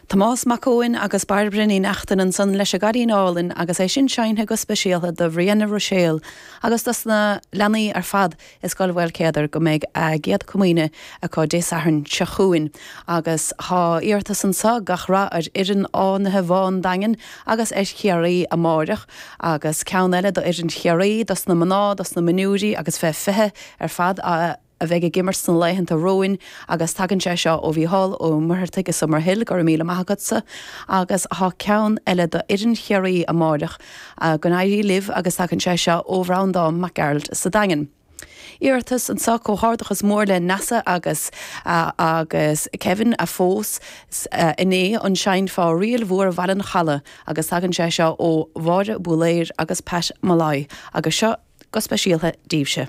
Tomás Mac Eoin agus Bairbre Ní Neachtain ansan leis an gCailín Álainn agus é sin seinnte go speisialta do Bhrianna Ruiséal agus dos na leanaí ar fad i Scoil Mhaolchéadair go mbeidh a gCéad Comaoine acu Dé Sathairn seo chugainn. Agus tá iarratas anso, gach rath ar fhoireann Fhánaithe Bhá an Daingin agus ar Chiarraí amáireach. Agus ceann eile do fhoireann Chiarraí, dos na mná, dos na mionúirí agus fé 20 ar fad a. a bheidh ag imirt sna laethanta romhainn agus tagann sé seo ó Mhícheál Ó Muircheartaigh i Summerhill, go raibh míle maith agatsa. Agus tá ceann eile do fhoireann Chiarraí amáireach, go n-éirí libh agus tagann sé seo ó Bhreandán Mac Gearailt sa Daingean. Iarratas anseo, comhghairdeachas mór le Neasa agus agus Kevin a phós inné an seinnfeá Ríl Mhór Bhaile an Chalaidh agus tagann sé seo ó Mháire Búiléir agus Pat Molloy agus seo go speisialta daoibhse.